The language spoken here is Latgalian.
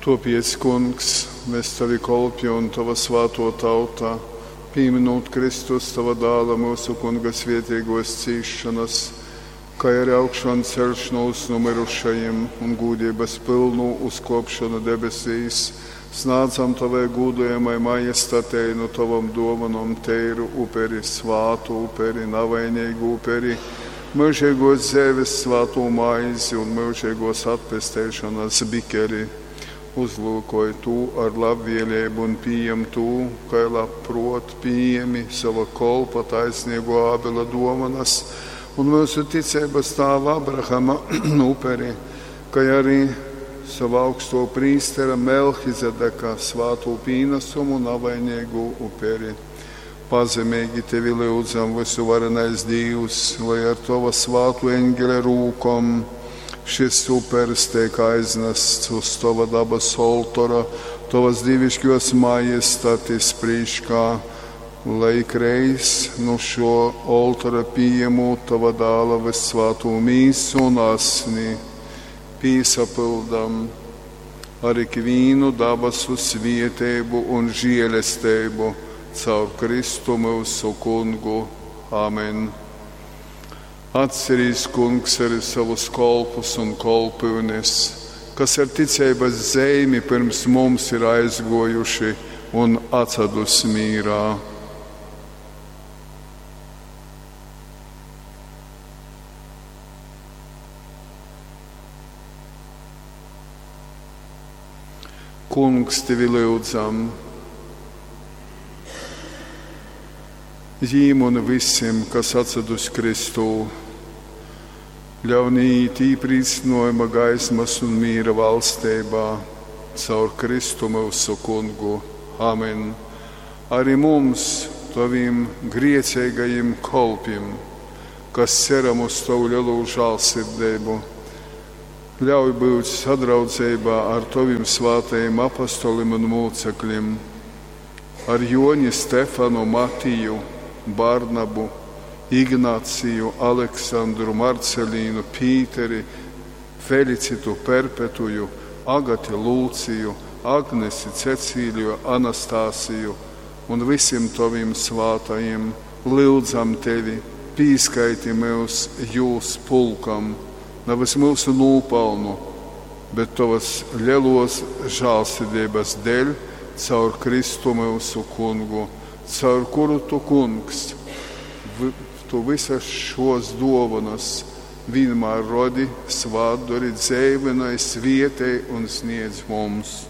Tuopiec, Kungs, mes Tavi kolpi un Tova svātuo tauta, pīminūt Kristus, Tova Dāla, myusu Kunga svietieguos cīsšonas, kai ari augšonceļšonūs nu myrušajim un gūdības pylnū uzkuopšonu debesīs, snādzam Tovai gūdojamai majestatei nu Tovom duovonom teiru uperi, svātu uperi, navainīgu uperi, myužīguos dzeives svātū maizi un myužīguos atpesteišonas bikeri. Uzlūkoj tū ar labvēlību un pījem tū, kai labpruot pījemi sova kolpa taisnīgo Ābela duovanas un myusu ticeibas tāva Abrahama uperi, kai arī sova augsto prīstera Melhizedeka svātū pīnasumu navainīgū uperi. Pazemīgi tevi lyudzam, vysuvarenais Dīvs, lai ar tova svātu eņģeļa rūkom šis upers teik aiznasts uz tova dabas oltora, tovas dīvišķos majestatis prīškā, lai ikreiz nu šo oltora pījemūt tova dāla vyssvātū mīsu un asni, pīsapyldam ar ikvīnu dabasu svieteibu un žielesteibu caur Kristu myusu kungu. Amen. Atcerīs, kungs, arī savus kolpus un kolpyunes, kas ar ticeibas zeimi pirms mums ir aizguojuši un atsadus mīrā. Kungs, tevi lyudzam! Jīm un visim, kas atsadus Kristū, ļaun iet īprīcinājuma gaismas un mīra valstībā caur Kristu myusu kungu. Amen. Arī mums, tavim griecīgajiem kolpim, kas ceram uz tavu lielo žālsirdību, ļauj būt sadraudzībā ar tavim svātajiem apostolim un mūcekļiem, ar Joni, Stefanu, Matiju, Barnabu, Ignāciju, Aleksandru, Marcelīnu, Pīteri, Felicitu, Perpetuju, Agati, Lūciju, Agnesi, Cecīliju, Anastāsiju un visiem taviem svātajiem. Lyudzam tevi, pīskaiti mūs jūs pulkam, nevis mūsu nopelnu, bet tavas lielos žālsirdības dēļ caur Kristu mūsu kungu, caur kuru tu kungs, tu visas šos dovanas vienmēr rodi, svātdori, dzēvinai, svietei un sniedz mums.